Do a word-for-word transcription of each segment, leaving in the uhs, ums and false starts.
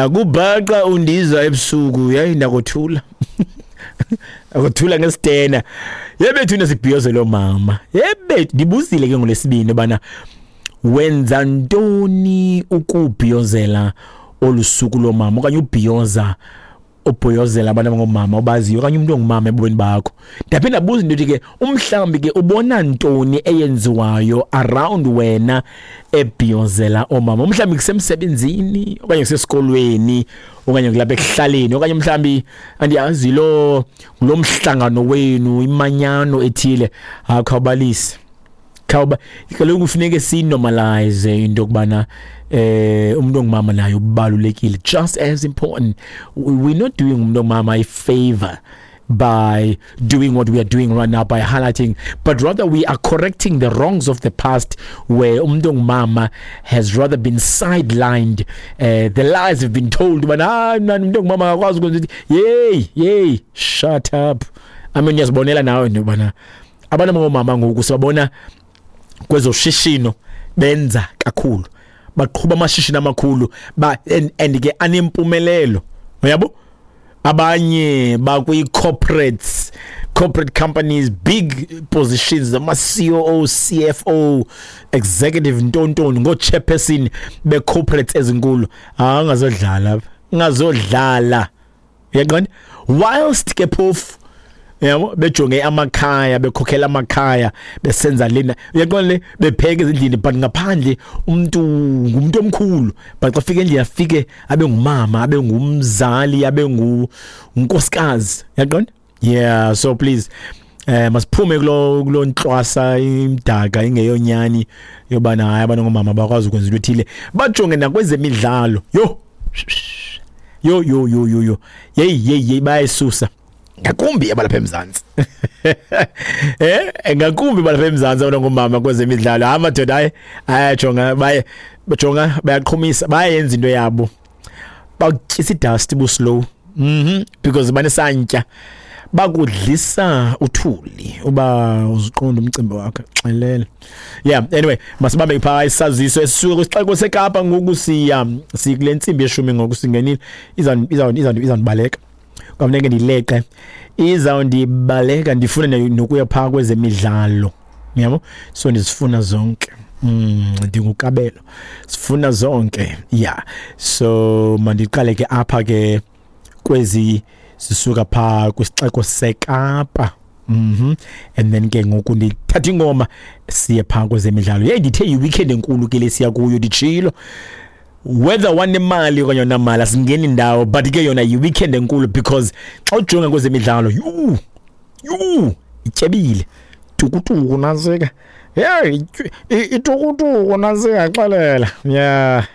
Akubhaqa undiza ebusuku yayi ndakuthula. Akuthula ngesitena. Yebethu nesibhiyozelo mama. Yebethu ndibuzile ke ngolesibini bana wenza ntoni ukubhiyozela olusuku lomama okanye ubhiyoza ubhiyozela abantu abangomama obaziyo okanye umuntu ongumama ebomini bakho. Ndaphinda ndabuza into ethi ke umhlawumbi ke ubona ntoni eyenziwayo around wena ebhiyozela oomama, umhlawumbi kusemsebenzini okanye kusesikolweni okanye kulapha ekuhlaleni okanye mhlawumbi andiyazi lo lo mhlangano wenu imanyano ethile. Akhawubalise khawuba kaloku kufuneke sinormalize into yokubana eh umuntu ongumama naye ubalulekile, just as important. We're not doing umuntu ongumama a favor by doing what we are doing right now, by highlighting, but rather we are correcting the wrongs of the past where umuntu ongumama has rather been sidelined. Uh, the lies have been told, but ah man, umuntu ongumama akakwazi ukwenza ukuthi yey yey shut up. I mean, uyazibonela nawe into yobana abantu abangomama ngoku sibabona kwezoshishino benza kakhulu, baqhuba amashishini amakhulu ba and, and ke anempumelelo, uyabo. Abanye bakwi corporates, corporate companies, big positions, ama C O O, C F O, executive ntontoni, ngo chairperson be corporates ezinkulu. Ah, ngazodlala ngazodlala uyaqonda. Whilst ke phofu yabo bejonge amakhaya, bekhokhela amakhaya, besenza lena, uyaqonda le, bepheka ezindlini, but ngaphandle umuntu ngumuntu omkhulu, but xa fika endlini afike abe ngumama, abe ngumzali, abe ngunkosikazi, uyaqonda. Yeah, so please eh masiphume kulo kulo ntlwasa imdaka ingeyonyani yobana hayi abantu ngomama bakwazi ukwenza into ethile. Bajonge nakwezemidlalo, yo yo yo yo yo yo hey hey hey bayisusa ngakumbi abalapha eMzantsi. Eh ngakumbi abalapha eMzantsi abantu ngomama kwezemidlalo. Hayi madoda, hayi ayajonga, baye bajonga, bayaqhumisa, bayenza into yabo, bakutyisa idust bu slow. Mhm because banesantya, bakudlisa uthuli uba uziqonda umcimbi wakho xelele. Yeah, anyway, masibambe pha isaziso esisuka kwisixeko seKapa ngoku. Siya sikule ntsimbi yeshumi ngoku singenile, iza iza iza izandibaleka kwafuneka ndileqe, izawundibaleka, ndifuna nokuya phaa kwezemidlalo, uyabo. So ndizifuna zonke, mm ndingukabelo, sifuna zonke. Yeah, so mandiqale ke apha ke kwezi sisuka phaa kwisixeko seKapa. Mhm and then ke ngoku ndithatha ingoma siye phaa kwezemidlalo. Hey, ndithe yi-weekend enkulu ke lesiya kuyo, nditshilo whether wanemali okanye onamali asingeni ndawo, but ke yona yi-weekend enkulu because xa ujonga kwezemidlalo yhu yhu ityebile, tukutuku nantsika, hey itukutuku nantsika xelela, yeah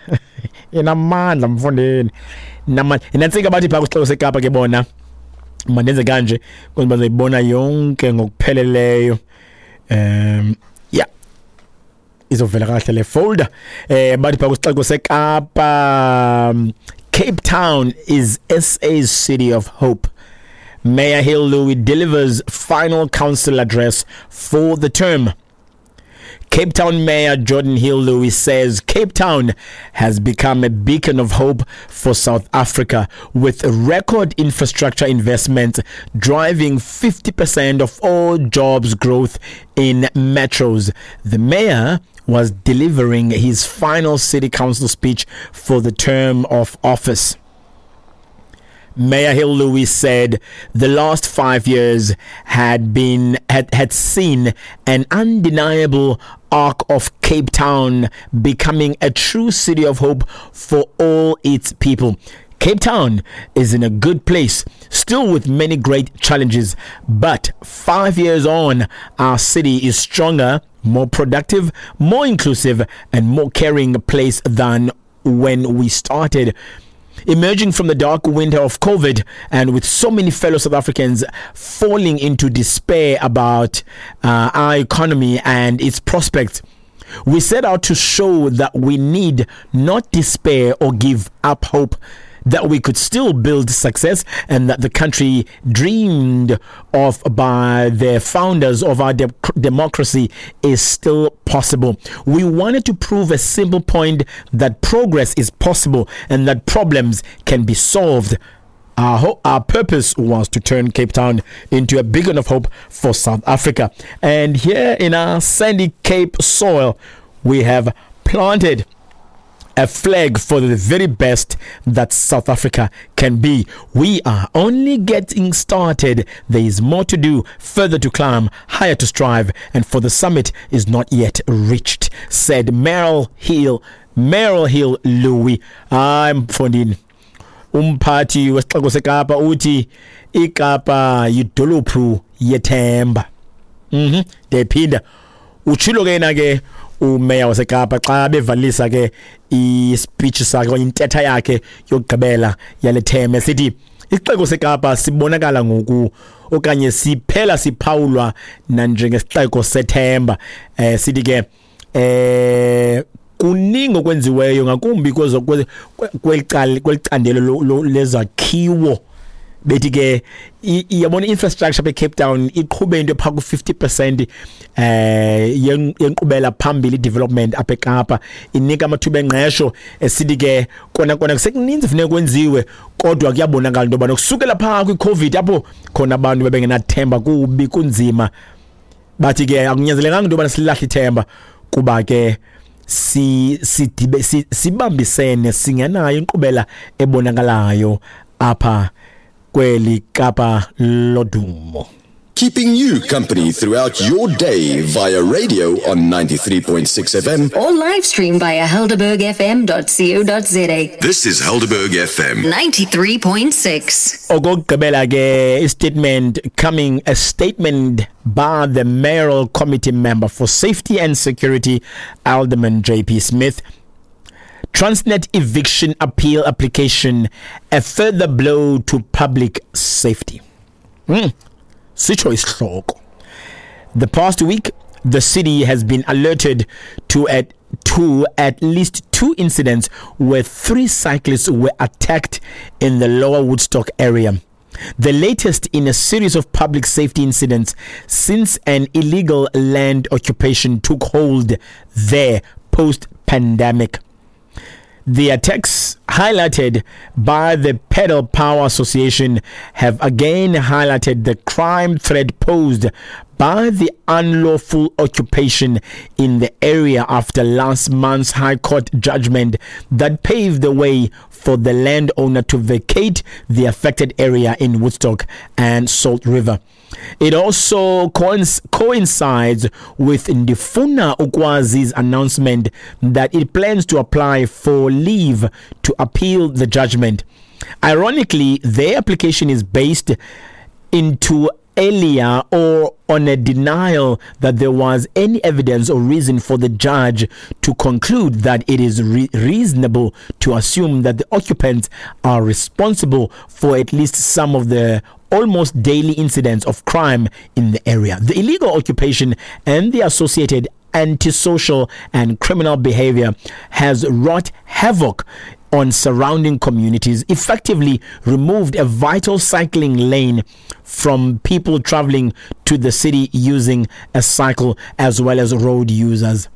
inamandla mfundini, namandla inantsika. Bathi phaa kwisixeko seKapa ke bona mandenze kanje kodwa bazoyibona yonke ngokupheleleyo. Um yeah, izovela kahle le folder. Eh bathi phaa kwisixeko seKapa, Cape Town is S A's city of hope. Mayor Hill Louis delivers final council address for the term. Cape Town Mayor Jordan Hill Louis says Cape Town has become a beacon of hope for South Africa, with record infrastructure investment driving fifty percent of all jobs growth in metros. The mayor was delivering his final city council speech for the term of office. Mayor Hill Louis said the last five years had been had, had seen an undeniable arc of Cape Town becoming a true city of hope for all its people. Cape Town is in a good place, still with many great challenges, but five years on, our city is stronger, more productive, more inclusive, and more caring place than when we started. Emerging from the dark winter of COVID, and with so many fellow South Africans falling into despair about uh, our economy and its prospects, we set out to show that we need not despair or give up hope, that we could still build success, and that the country dreamed of by the founders of our de- democracy is still possible. possible. We wanted to prove a simple point that progress is possible and that problems can be solved. Our, ho- our purpose was to turn Cape Town into a beacon of hope for South Africa. And here in our sandy Cape soil, we have planted a flag for the very best that South Africa can be. We are only getting started. There is more to do, further to climb, higher to strive, and for the summit is not yet reached, said Merrill Hill, Merrill Hill Louis. I'm Fondin. Umphathi wesixeko seKapa uthi iKapa yidolophu yethemba. Mhm, ndiyayiphinda. Utshilo ke yena ke umeya waseKapa xa bevalisa ke ispeech sakhe okanye intetha yakhe yokugqibela yale term, esithi isixeko seKapa sibonakala ngoku okanye siphela siphawulwa nanjengesixeko sethemba. Eh sithi ke eh kuningi okwenziweyo ngakumbi kwezo kweli kwelicandelo lezakhiwo. Bethi ke iyabona infrastructure be Cape Town iqhube into pha ku fifty percent eh yenkqubela phambili development apha eKapa, inika amathuba engqesho. Esithi ke kona kona kusekuninzi funeka kwenziwe, kodwa kuyabonakala into yobana kusukela pha kwi-COVID apho khona abantu bebengenathemba kubi kunzima, bathi ke akunyanzelekanga into yobana silahle ithemba kuba ke si sidibe sibambisene singenayo inkqubela ebonakalayo apha kweli Kapa lodumo. Keeping you company throughout your day via radio on ninety-three point six F M or live stream via helderberg f m dot co dot z a. This is Helderberg F M ninety-three point six. Okokugqibela ke statement coming a statement by the mayoral committee member for safety and security, Alderman J P Smith. Transnet eviction appeal application, a further blow to public safety. Mm. Sitsho isihloko. The past week, the city has been alerted to at to at least two incidents where three cyclists were attacked in the Lower Woodstock area. The latest in a series of public safety incidents since an illegal land occupation took hold there post-pandemic. The attacks highlighted by the Pedal Power Association have again highlighted the crime threat posed by the unlawful occupation in the area after last month's High Court judgment that paved the way for the landowner to vacate the affected area in Woodstock and Salt River. It also coincides with Ndifuna Ukwazi's announcement that it plans to apply for leave to appeal the judgment. Ironically, their application is based into earlier or on a denial that there was any evidence or reason for the judge to conclude that it is re- reasonable to assume that the occupants are responsible for at least some of the almost daily incidents of crime in the area. The illegal occupation and the associated antisocial and criminal behavior has wrought havoc on surrounding communities, effectively removed a vital cycling lane from people traveling to the city using a cycle, as well as road users.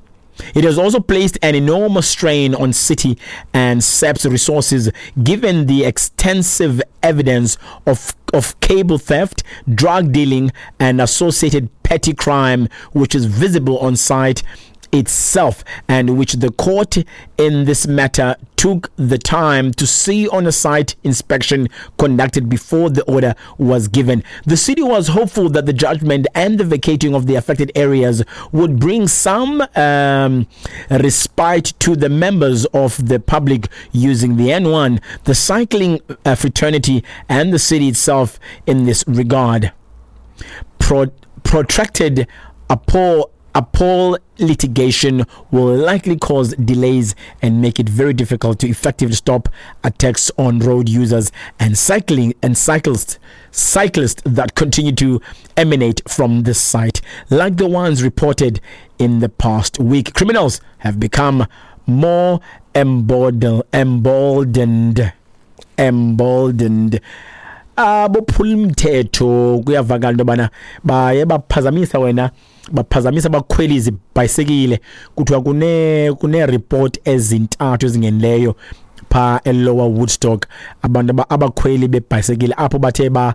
It has also placed an enormous strain on city and S A P S resources, given the extensive evidence of, of cable theft, drug dealing, and associated petty crime, which is visible on site itself, and which the court in this matter took the time to see on a site inspection conducted before the order was given. The city was hopeful that the judgment and the vacating of the affected areas would bring some um, respite to the members of the public using the N one, the cycling uh, fraternity, and the city itself in this regard. Pro- protracted appall Appall litigation will likely cause delays and make it very difficult to effectively stop attacks on road users and cycling and cyclists, cyclists that continue to emanate from this site, like the ones reported in the past week. Criminals have become more emboldened, emboldened, emboldened. Abophula umthetho kuyavakala into yobana baye baphazamisa wena, baphazamisa abakhweli izibhayisekile. Kuthiwa kune kune report ezintathu ezingenileyo pha eLower Woodstock, abantu abakhweli bebhayisekile apho bathe ba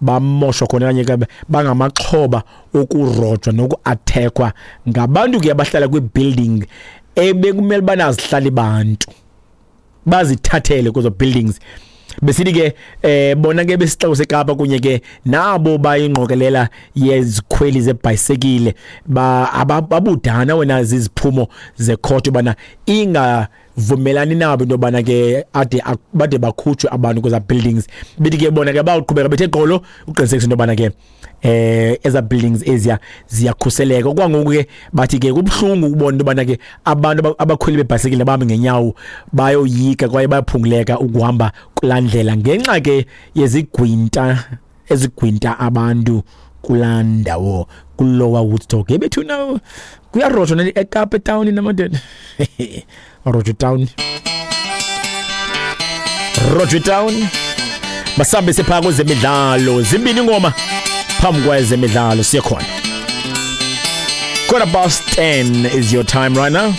bamoshwa khona okanye ke bangamaxhoba okurojwa nokuathekwa ngabantu ke abahlala kwi-building ebekumele ubana azihlali bantu, bazithathele kwezo buildings. Besithi ke eh bona ke besixeko seKapa kunye ke nabo bayingqokelela yezikhweli zebhayisekile ba ababudana wena ziziphumo zekhothi bana ingavumelani nabo into yobana ke ade bade bakhutshwe abantu kweza buildings. Bethi ke bona ke bawuqhubeka bethe gqolo uqinisekisa into yobana ke eh eza buildings eziya ziyakhuseleka. Okwangoku ke bathi ke kubuhlungu ukubona into yobana ke abantu abakhweli bebhayisekile bahambe ngenyawo bayoyika kwaye bayaphunguleka ukuhamba kulaa ndlela ngenxa ke yezigwinta ezigwinta abantu kulaa ndawo kuLower Woodstock. Ebethuna kuyarojwa eKapa town namadoda. Rojwa town, Rojwa town. Basambe sepha kwezemidlalo, zimbini ingoma phambi kwezemidlalo siye khona. Quarter past ten is your time right now.